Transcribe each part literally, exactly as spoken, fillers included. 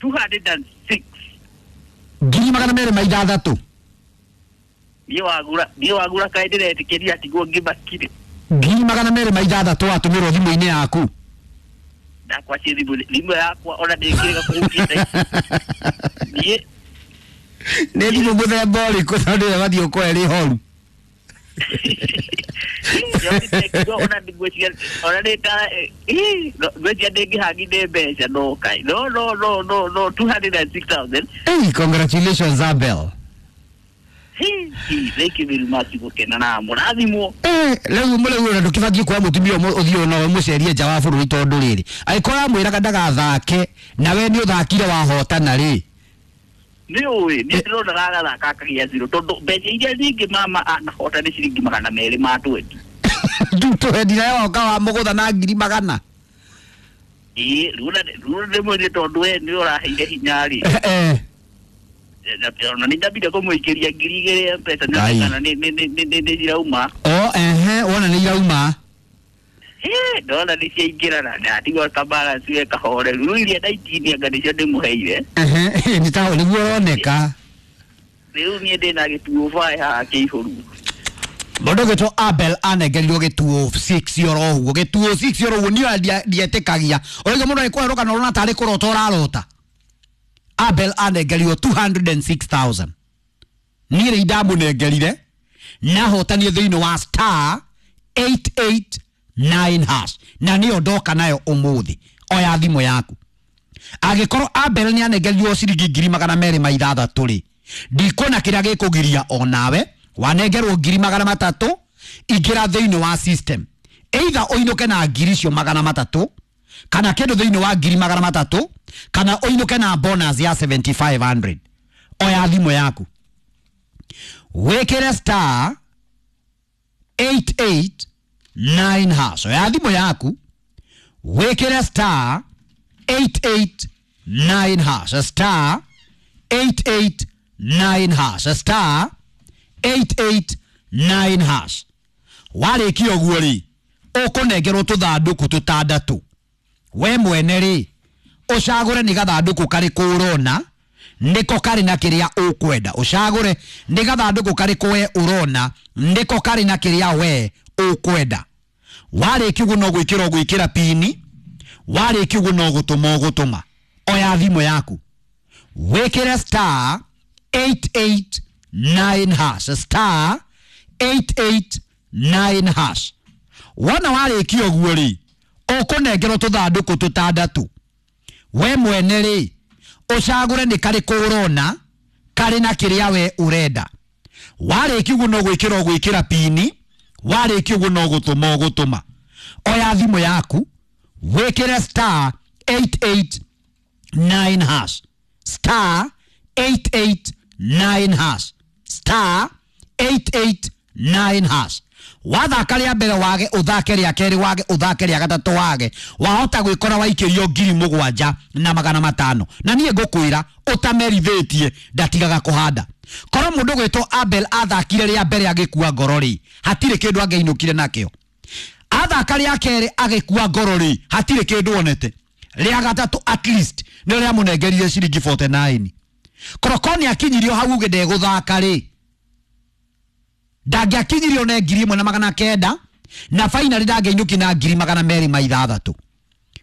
two hundred and six. Ngiri magana merĩ ma ithathatũ. Niĩ wagura niĩ wagura kaĩ ndĩretĩkĩria atigwo ngĩmakire. Ngiri magana merĩ ma ithathatũ watũmĩrwo thimũ-inĩ yaku. Ndakwa ciĩ thimũ thimũ yakwa ona ndĩngĩrega kũhutia thaa ici. Niĩ Nĩ thimũ mũthemba ũrĩkũ tondũ ĩyo ĩbatiĩ gũkorwo ĩrĩ horu? Ona ngwĩciria ona nĩ ta ngwĩciria ndĩngĩhangi nĩ mbeca no kai no no no no no two hundred and six thousand. Hey, congratulations Abel. Thank you very much gũkena na mũrathimwo. Eh, rĩu mũrĩu ona ndũkĩbatiĩ kuoya mũtumia ũmwe ũthiĩ ona ũmũcerie nja wa bũrũri tondũ rĩrĩ angĩkorwo amwĩraga ndagathake na we nĩ ũthakire wahotana rĩ. Nĩ ũĩ niĩ ndĩrona gagathaka akagĩa zero tondũ mbeca iria nyingĩ mama anahota nĩ ciringi magana merĩ ma twenty. Twenty nayo woka wa mũgũtha na ngiri magana. Ĩĩ rĩu rĩu ndĩmwĩrire tondũ we nĩ ũraheire hinya rĩ. Eh. Ona nĩ ndambire kũmũikĩria ngiri igĩrĩ mbeca Ngai. kana nĩ nĩ nĩ nĩ nĩ irauma. O ehe wona nĩ irauma. Eh, ndona nĩ ciaingĩra na ndatigwo ka balance we kahoreru rĩu iria ndaitinia anga nĩcio ndĩmũheire. Ehe nĩ ta nĩguo ũroneka. Rĩu niĩ ndĩna gĩtuo bae haha kĩihũru. Mũndũ ũgwĩtwo Abel anengerirwo gĩtuo six oro ũguo gĩtuo six oro ũguo niĩ ndietĩkagia ũrauga mũndũ agĩkũherũka na ũrona tarĩ kũrota ũrarota. Abel anengerirwo two hundred and six thousand. Niĩ rĩ ndamũnengerire nahotanie thĩinĩ wa star eight eight nine hash na nĩyo ndoka nayo ũmũthĩ. Oya thimũ yaku. Angĩkorwo Abel nĩ anengerirwo ciringi ngiri magana merĩ ma ithathatũ rĩ ndikuona kĩrĩa gĩkũgiria onawe wanengerwo ngiri magana matatũ ingĩra thĩinĩ wa system either ũinũke na ngiri icio magana matatũ kana kĩndũ thĩinĩ wa ngiri magana matatũ kana ũinũke na bonus ya seventy five hundred. Oya thimũ yaku wĩkĩre star eight eight nine hash. Oya thimũ yaku wĩkĩre star eight eight nine hash star eight eight nine hash star eight eight nine hash. Warĩkia ũguo rĩ ũkũnengerwo tũthandũkũ tũtandatũ we mwene rĩ ũcagũre nĩ gathandũkũ karĩkũ ũrona nĩko karĩ na kĩrĩa ũkwenda. Ũcagũre nĩ gathandũkũ karĩkũ we ũrona nĩko karĩ na kĩrĩa we ũkwenda. Warĩkia ũguo no gwĩkĩra ũgwĩkĩra pini warĩkia ũguo no gũtũma ũgũtũma. Oya thimũ yaku wĩkĩre star eight eight nine hash star eight eight nine hash. Wona warĩkia ũguo rĩ ũkũnengerwo tũthandũkũ tũtandatũ we mwene rĩ ũcagũre nĩ karĩkũ ũrona karĩ na kĩrĩa we ũrenda. Warĩkia ũguo no gwĩkĩra ũgwĩkĩra pini warĩkia ũguo no gũtũma ũgũtũma. Oya thimũ yaku wĩkĩre star eight eight nine hash star eight eight nine hash star eight eight nine hash. Wathaka rĩa mbere wage ũthake rĩa kerĩ wage ũthake rĩa gatatũ wage wahota gwĩkora waikĩrio ngiri mũgwanja na magana matano na niĩ ngũkwĩra ũtamerithĩtie ndatigaga kũhanda. Korwo mũndũ ũgwĩtwo Abel athakire rĩa mbere agĩkua ngoro rĩ hatirĩ kĩndũ angĩinũkire nakĩo. Athaka rĩa kerĩ agĩkua ngoro rĩ hatirĩ kĩndũ onete. Rĩa gatatũ at least nĩ rĩamũnengerire ciringi forty nine. Korwo nĩ akinyirio hau uge ndegũthaka rĩ ndangĩakinyirio ne ngiri ĩmwe na magana kenda na finally ndangĩinũki na ngiri magana merĩ ma ithathatũ.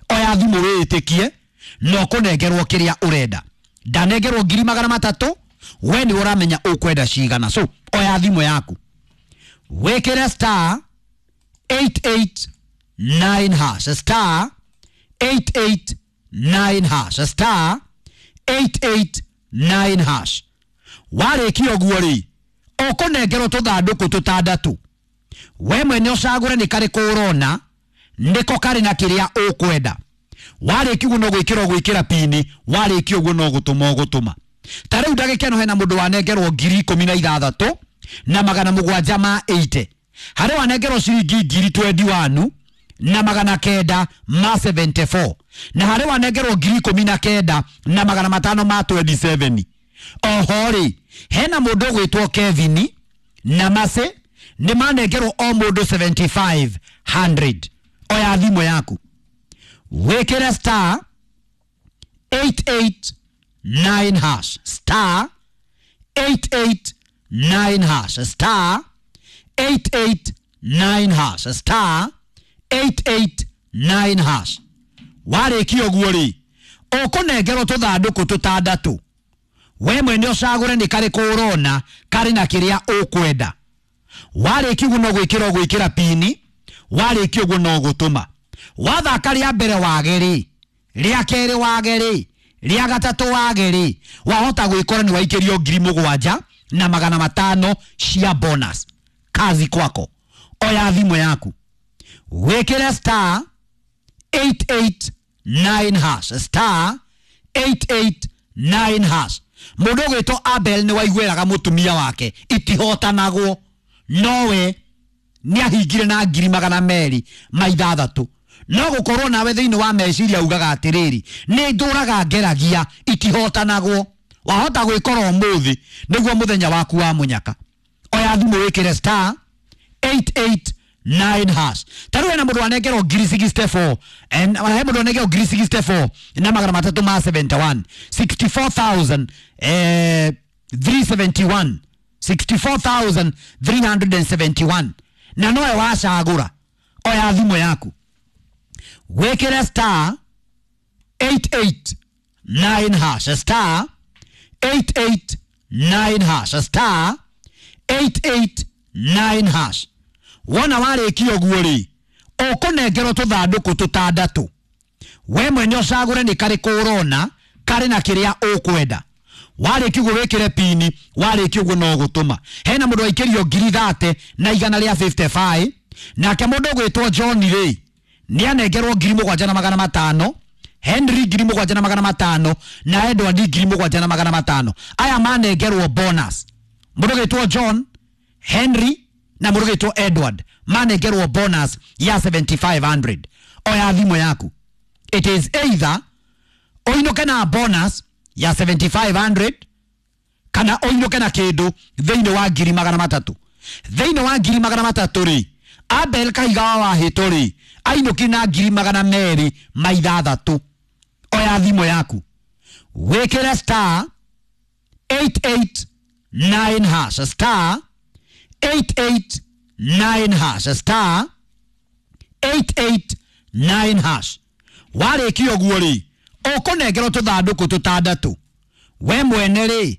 Oya thimũ wĩĩtĩkie na ũkũnengerwo kĩrĩa ũrenda. Ndanengerwo ngiri magana matatũ we nĩ ũramenya ũkwenda cigana. So oya thimũ yaku wĩkĩre star eight eight nine hash star eight eight nine hash star eight eight nine hash. Warĩkia ũguo rĩ ũkũnengerwo tũthandũkũ tũtandatũ we mwene ũcagũre nĩ karĩkũ ũrona nĩko karĩ na kĩrĩa ũkwenda. Warĩkia ũguo no gwĩkĩra ũgwĩkĩra pini warĩkia ũguo no gũtũma ũgũtũma. Ta rĩu ndagĩka ĩno hena mũndũ wanengerwo ngiri ikũmi na ithathatũ na magana mũgwanja ma eighty. Harĩ wanengerwo ciringi ngiri twenty one na magana kenda ma seventy four na harĩ wanengerwo ngiri ikũmi na kenda na magana matano ma twenty seven. Oho rĩ hena mũndũ ũgwĩtwo Kevin na Mase nĩ manengerwo o mũndũ seventy five hundred. Oya thimũ yaku wĩkĩre star eight eight nine hash, star eight eight nine hash, star eight eight nine hash, star eight eight nine hash. Warĩkia ũguo rĩ, ũkũnengerwo tũthandũkũ tũtandatũ, we mwene ũcagũre nĩ karĩkũ ũrona karĩ na kĩrĩa ũkwenda. Warĩkia ũguo no gwĩkĩra ũgwĩkĩra pini, warĩkia ũguo no gũtũma. Wathaka rĩa mbere wage rĩ, rĩa kerĩ wage rĩ, rĩa gatatũ wage rĩ, wahota gwĩkora nĩ waikĩrio ngiri mũgwanja na magana matano cia bonus. Kazi kwako. Oya thimũ yaku, wĩkĩre star eight eight nine hash, star eight eight nine hash. Mũndũ ũgwĩtwo Abel nĩ waiguĩraga mũtumia wake itihotanagwo, nowe nĩ ahingire na ngiri magana merĩ ma ithathatũ. No gũkorwo nawe thĩinĩ wa meciria ugaga atĩrĩrĩ, nĩ ndũraga ngeragia itihotanagwo. Wahota gwĩkora ũmũthĩ nĩguo mũthenya waku wa mũnyaka. Oya thimũ wĩkĩre star eight eight nine hash. Ta rĩu hena mũndũ wanengerwo ngiri sixty four, and he mũndũ wanengerwo ngiri sixty four na magana matatũ ma seventy one, sixty four thousand, eh, three seventy one, sixty four thousand three hundred and seventy one. Na nowe wacagũra. Oya thimũ yaku, wĩkĩre star eight eight nine hash, star eight eight nine hash, star eight eight nine hash. Wona warĩkia ũguo rĩ, ũkũnengerwo tũthandũkũ tũtandatũ, we mwene ũcagũre nĩ karĩkũ ũrona karĩ na kĩrĩa ũkwenda. Warĩkia ũguo wĩkĩre pini, warĩkia ũguo no gũtũma. Hena mũndũ waikĩrio ngiri thate na igana rĩa fifty five, nake mũndũ ũgwĩtwo John rĩ, nĩ anengerwo ngiri mũgwanja na magana matano, Henry ngiri mũgwanja na magana matano, na Edward ngiri mũgwanja na magana matano. Aya manengerwo bonus. Mũndũ ũgwĩtwo John, Henry na mũndũ ũgwĩtwo Edward manengerwo bonus ya seventy five hundred. Oya thimũ yaku, it is either ũinũke na bonus ya seventy five hundred kana ũinũke na kĩndũ thĩinĩ wa ngiri magana matatũ. Thĩinĩ wa ngiri magana matatũ rĩ, Abel Kahiga wa Wahĩtũ rĩ, ainũki na ngiri magana merĩ ma ithathatũ. Oya thimũ yaku, wĩkĩre star eight eight nine hash, star eight eight nine hash, star eight eight nine hash. Warĩkia ũguo rĩ, ũkũnengerwo tũthandũkũ tũtandatũ, we mwene rĩ,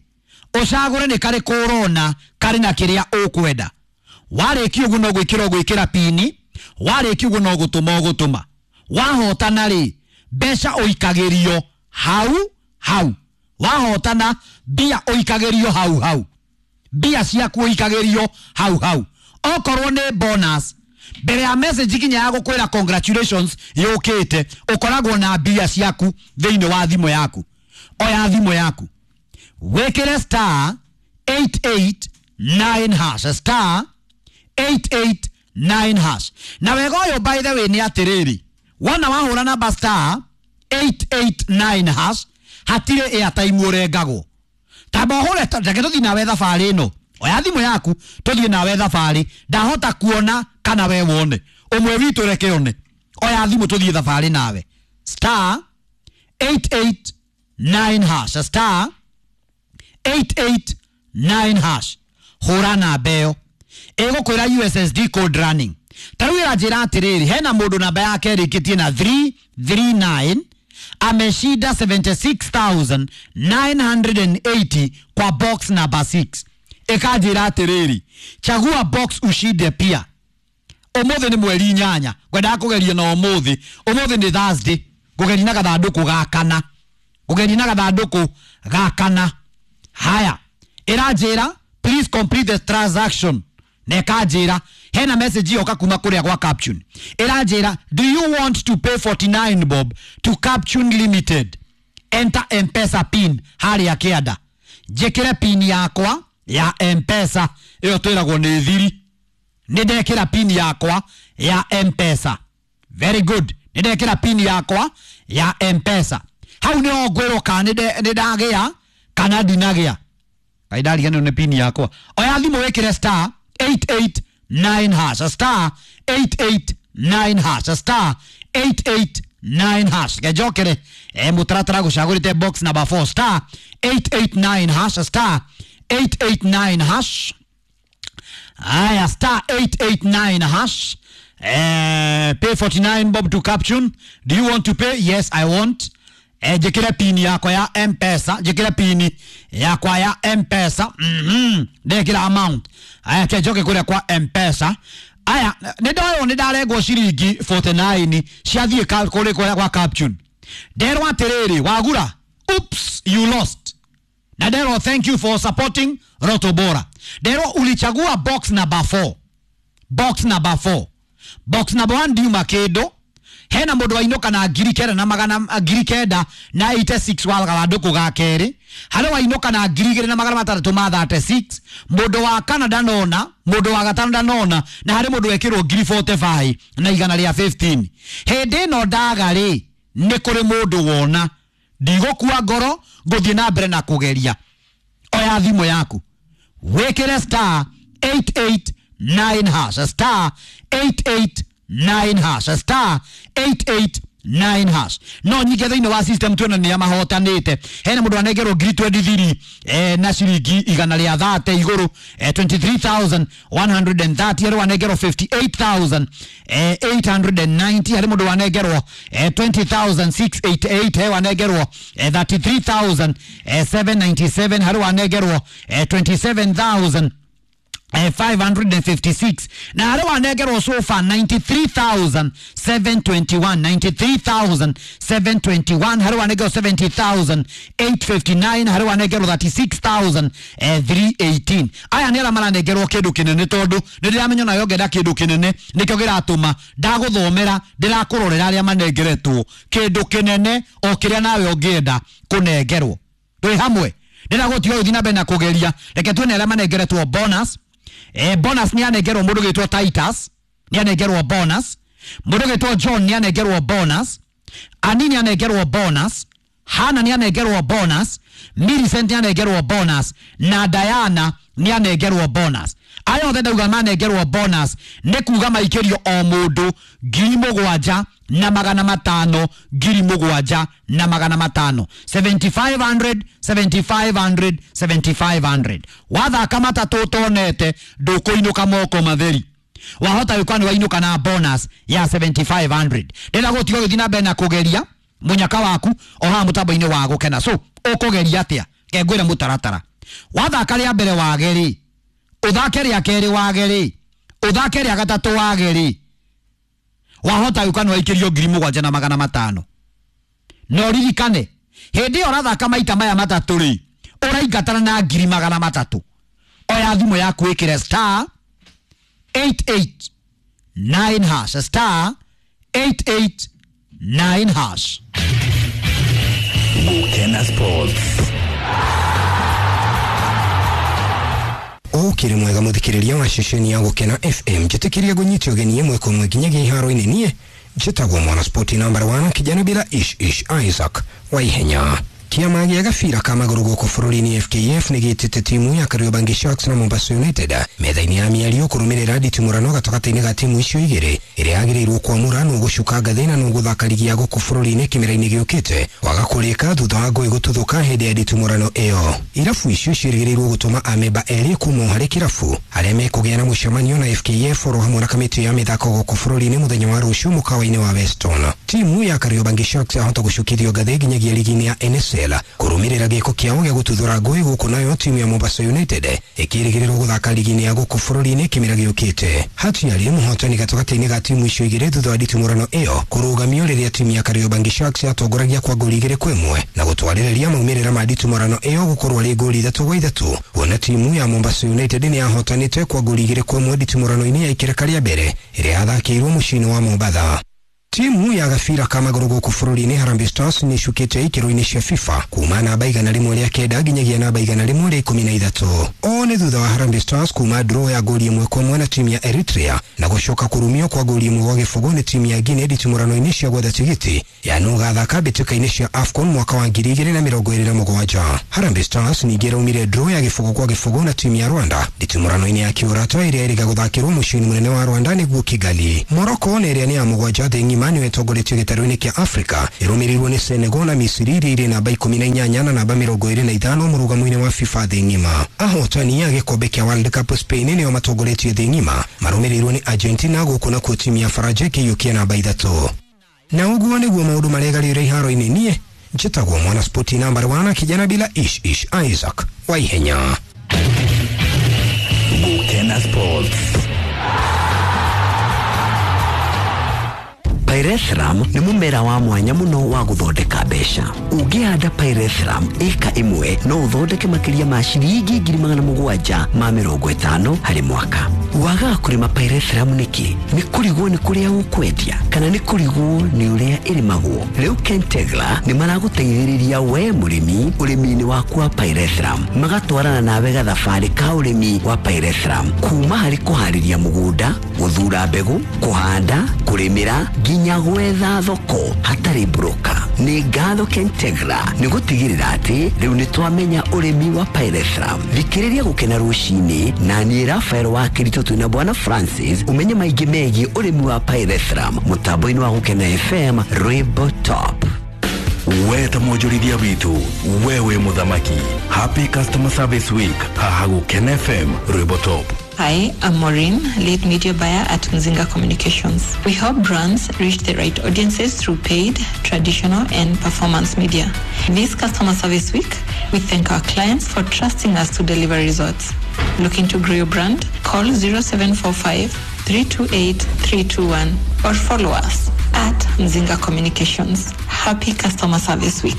ũcagũre nĩ karĩkũ ũrona karĩ na kĩrĩa ũkwenda. Warĩkia ũguo no gwĩkĩra ũgwĩkĩra pini, warĩkia ũguo no gũtũma ũgũtũma. Wahotana rĩ, mbeca ũikagĩrio hau hau. Wahotana mbia ũikagĩrio hau hau, mbia ciaku ũikagĩrio hau hau. Okorwo nĩ bonus, mbere ya message kinya ya gũkwĩra congratulations yũkĩte, ũkoragwo na mbia ciaku thĩinĩ wa thimũ yaku. Oya thimũ yaku, wĩkĩre star eight eight nine hash, star eight eight nine hash. Na wega ũyũ by the way nĩ atĩrĩrĩ, wona wahũra namba star eight eight nine hash, hatirĩ airtime ũrengagwo. Tamba ũhũre, reke tũthiĩ nawe thabarĩ ĩno. Oya thimũ yaku tũthiĩ nawe thabarĩ, ndahota kuona kana we wone, ũmwe witũ reke one. Oya thimũ tũthiĩ thabarĩ nawe, star eight eight nine hash, star eight eight nine hash. Hũra namba ĩyo, ĩgũkwĩra U S S D code running. Ta rĩu ĩranjĩra atĩrĩrĩ, hena mũndũ namba yake ĩrĩkĩtie na three three nine, ameshinda seventy six thousand nine hundred and eighty kwa box number six. Ĩkanjĩra atĩrĩrĩ, chagua box ushinde pia. Ũmũthĩ nĩ mweri inyanya, ngwendaga kũgeria na ũmũthĩ. Ũmũthĩ nĩ Thursday, ngũgeria na gathandũkũ ga kana, ngũgeria na gathandũkũ ga kana. Haya, ĩranjĩra please complete the transaction. Na ĩkanjĩra hena message yoka kuma kũrĩa gwa Captune. Ĩranjĩra do you want to pay forty nine bob to Captune Limited? Enter M-Pesa pin harĩa kĩanda. Njĩkĩre pin yakwa ya M-Pesa, ĩyo twĩragwo nĩ thiri. Nĩ ndekĩra pin yakwa ya M-Pesa. Very good. Nĩ ndekĩra pin yakwa ya M-Pesa. Hau nĩho ngwĩrwo kana nĩ ndagĩa kana ndinagĩa. Kaĩ ndariganĩrwo nĩ pin yakwa. Oya thimũ wĩkĩre star eight eight nine hash, star eight eight nine hash, star eight eight nine hash. Gejokere e mutaratara gucagurite box number four star eight eight nine hash star eight eight nine hash. Aya, star eight eight nine hash. Eh, pay forty-nine bob to caption. Do you want to pay? Yes, I want. Eh, jikira pini yakwa ya M-Pesa, jikira pini yakwa ya M-Pesa. Mhm. Ndekira amount. Aya, kejoke kuria kwa M-Pesa. Aya, nĩ ndoywo nĩ ndarengwo ciringi forty-nine ciathiĩ kũrĩ kũrĩa kwa caption. Nderwo atĩrĩrĩ, wagura, oops, you lost. Na nderwo thank you for supporting Roto Bora. Nderwo ulichagua box number four. Box number four. Box number one ndiuma kĩndũ. Hena mũndũ wainũka na ngiri kenda na magana ngiri kenda na eighty-six wa gathandũkũ ga kerĩ. Harĩ wainũka na ngiri igĩrĩ na magana matandatũ ma thirty-six. Mũndũ wa kana ndanona, mũndũ wa gatano ndanona, na harĩ mũndũ wekĩrwo ngiri forty-five na igana rĩa fifteen. Hĩndĩ ĩno ndaga rĩ, nĩ kũrĩ mũndũ wona. Ndigũkua ngoro, ngũthiĩ na mbere na kũgeria. Oya thimũ yaku, wĩkĩre star eight eight nine hash, star eight eight nine hash, star eight eight nine hash. No nyinge thĩinĩ wa system tuona nĩ mahotanĩte. Hena mũndũ anengerwo ngiri twenty-three eh, na ciringi igana rĩa thate igũrũ, eh, twenty-three thousand one hundred thirty. Harĩ wanengerwo fifty-eight thousand eight hundred ninety. Harĩ mũndũ wanengerwo eh, twenty thousand six hundred eighty-eight. He wanengerwo eh, thirty-three thousand seven hundred ninety-seven. Harĩ wanengerwo eh, twenty-seven thousand five hundred fifty-six. Na harĩ wanengerwo so far ninety-three thousand seven hundred twenty-one, ninety-three thousand seven hundred twenty-one. Harĩ wanengerwo seventy thousand eight hundred fifty-nine. Harĩ wanengerwo thirty-six thousand three hundred eighteen. Aya nĩ arĩa maranengerwo kĩndũ kĩnene, tondũ nĩ ndĩramenya nayo ngenda kĩndũ kĩnene, nĩkĩo kĩratũma ndagũthomera, ndĩrakũrorera arĩa manengeretwo kĩndũ kĩnene o kĩrĩa nawe ũngĩenda kũnengerwo. Twĩ hamwe, ndĩragũtiga ũthiĩ na mbere na kũgeria. Reke tuone arĩa manengeretwo bonus. Eh, bonus ni anengerwo mũndũ gĩtwo Titus, ni anengerwo bonus. Mũndũ gĩtwo John ni anengerwo bonus. Ani ni anengerwo bonus. Hana ni anengerwo bonus. Millicent ni anengerwo bonus. Na Diana ni anengerwo bonus. Aya othe ndauga manengerwo bonus nĩ kuga maikĩrio o mũndũ ngiri mũgwanja na magana matano, ngiri mũgwanja na magana matano, seventy-five hundred, seventy-five hundred, seventy-five hundred. Wathaka matatũ ũtonete ndũkũinũka moko matheri. Wahota gũkorwo nĩ wainũka na bonus ya seventy-five hundred. Ndĩrenda gũtiga ũgĩthiĩ na mbere na kũgeria mũnyaka waku o haha mũtambo-inĩ wa Gũkena. So ũkũgeria atĩa? Ke ngwĩre mũtaratara. Wathaka rĩa mbere wage rĩ, ũthake rĩa kerĩ wage rĩ, ũthake rĩa gatatũ wage rĩ, wahota gũka nĩ waikĩrio ngiri mũgwanja na magana matano. Na ũririkane hĩndĩ ĩyo ũrathaka maita maya matatũ rĩ, ũraingatana na ngiri magana matatũ. Oya thimũ yaku wĩkĩre star eight eight nine hash, star eight eight nine hash. Gũkena Sports. Ukiri mwega muthikiriria wa ceceni ya Gũkena F M, njĩtĩkĩria ngũnyite ũgeni ĩmwe kwa ĩmwe nginyagia iharo-inĩ. Niĩ njĩtagwo mwana sport number one, kijana bila ish ish Isaac wa ihenya. Kĩama gĩa gabira ka magũrũ gũkũ bũrũri-inĩ F K F nĩ gĩtĩte timu ya Kariobangi Sharks na Mombasa United metha-inĩ ya mĩario kũrũmĩrĩra nditimũrano gatagatĩ-inĩ ga timu icio igĩrĩ ĩrĩa yagĩrĩirwo kwamũra nũ gũcuka ngathĩ na nũ gũthaka ligi ya gũkũ bũrũri-inĩ kĩmera-inĩ gĩũkĩte waga kũrĩka thutha wa ngũĩ gũtuthũka hĩndĩ ya nditimũrano ĩyo. Irabu icio ciĩrĩgĩrĩirwo gũtũma amemba erĩ kuma harĩ kĩrabu arĩa mekũgĩa na mũcemanio na F K F oro hamwe na kamĩtĩ ya mĩthako gũkũ bũrũri-inĩ mũthenya wa rũciũ mũkawa-inĩ wa Weston. Timu ya Kariobangi Sharks yahota gũcukithio ngathĩ nginyagia ligi-inĩ ya N S L kũrũmĩrĩra gĩko kĩao gĩa gũtuthũra ngũĩ gũkũ, nayo timu ya Mombasa United ĩkĩrĩgĩrĩrwo gũthaka ligi-inĩ ya gũkũ bũrũri-inĩ kĩmera gĩũkĩte. Hatiarĩ mũhotani gatagatĩ-inĩ ga timu icio igĩrĩ thutha wa nditimũrano ĩyo kũrũgamio rĩrĩa timu ya Kariobangi Sharks yatongoragia kwa ngoli igĩrĩ kwa ĩmwe na gũtwarĩrĩria maumĩrĩra ma nditimũrano ĩyo gũkorwo arĩ ngoli ithatũ gwa ithatũ, kuona timu ya Mombasa United nĩ yahotanĩte kwa ngoli igĩrĩ kwa ĩmwe nditimũrano-inĩ ya ikereka rĩa mbere ĩrĩa yathakĩirwo mũciĩ-inĩ wa Mombatha. Timu ya gabira ka magũrũ gũkũ bũrũri-inĩ Harambee Stars nĩ ĩcukĩte ikĩro-inĩ cia FIFA kuma namba igana rĩmwe rĩa kenda nginyagia namba igana rĩmwe rĩa ikũmi na ithatũ. O nĩ thutha wa Harambee Stars kuma draw ya ngoli ĩmwe kwa ĩmwe na timu ya Eritrea na gũcoka kũrumio kwa ngoli ĩmwe gwa gĩbũgũ nĩ timu ya Guinea nditimũrano-inĩ cia gwetha tigiti ya nũ gathaka mbĩtĩka-inĩ cia AFCON mwaka wa ngiri igĩrĩ na mĩrongo ĩrĩ na mũgwanja. Harambee Stars ningĩ ĩraumire draw ya gĩbũgũ kwa gĩbũgũ na timu ya Rwanda nditimũrano-inĩ ya kĩũrata ĩrĩa ĩrĩga gũthakĩrwo mũciĩ-inĩ mũnene wa Rwanda nĩguo Kigali. Morocco nĩ ĩrĩa nĩ ya mũgwanja thĩ ng'ima ng'ima nĩyo ĩtongoretie gĩtarũ-inĩ kĩa Afrika, ĩrũmĩrĩirwo nĩ Senegal na Misiri iria irĩ namba ikũmi na inyanya na namba mĩrongo ĩrĩ na ithano mũrũgamo-inĩ wa FIFA thĩ ng'ima. Ahotani a gĩkombe kĩa World Cup Spain nĩo matongoretie thĩ ng'ima, marũmĩrĩirwo nĩ Argentina, gũkũ nakuo timu ya Faranja ĩkĩiyũkia namba ithatũ. Na ũguo nĩguo maũndũ maregarĩire iharo-inĩ. Niĩ njĩtagwo mwana spoti namba wana, kijana bila ish ish, Isaac Waihenya. Gukena Sports. Pyrethrum nĩ mũmera wa mwanya mũno wa gũthondeka mbeca. Ũngĩhanda Pyrethrum ĩka ĩmwe no ũthondeke makĩria ma ciringi ngiri magana mũgwanja ma mĩrongo ĩtano harĩ mwaka. Wagaga kũrĩma Pyrethrum nĩkĩ? Nĩ kũrigwo nĩ kũrĩa ũkwendia kana nĩ kũrigwo nĩ ũrĩa ĩrĩmagwo? Rĩu Kentegra nĩ maragũteithĩrĩria we mũrĩmi ũrĩmi-inĩ waku wa Pyrethrum, magatwarana nawe gathabarĩ ka ũrĩmi wa Pyrethrum, kuma harĩ kũharĩria mũgũnda, gũthura mbegũ, kũhanda, kũrĩmĩra nginya gwetha thoko hatarĩ broker. Nĩ ngatho Kentegra nĩ gũtigĩrĩra atĩ rĩu nĩ twamenya ũrĩmi wa Pyrethrum. Thikĩrĩria Gũkena Rũcinĩ na niĩ Rafael wa Kĩritũ twĩna Bwana Francis, ũmenye maingĩ megiĩ ũrĩmi wa Pyrethrum mũtambo-inĩ wa Gũkena F M Rwĩmbo Top. We ta mwonjorithia witũ, we wĩ mũthamaki. Happy Customer Service Week haha Gũkena F M Rwĩmbo Top. Hi, I'm Maureen, lead media buyer at Mzinga Communications. We help brands reach the right audiences through paid, traditional, and performance media. This Customer Service Week, we thank our clients for trusting us to deliver results. Looking to grow your brand? Call zero seven four five, three two eight, three two one or follow us at Mzinga Communications. Happy Customer Service Week.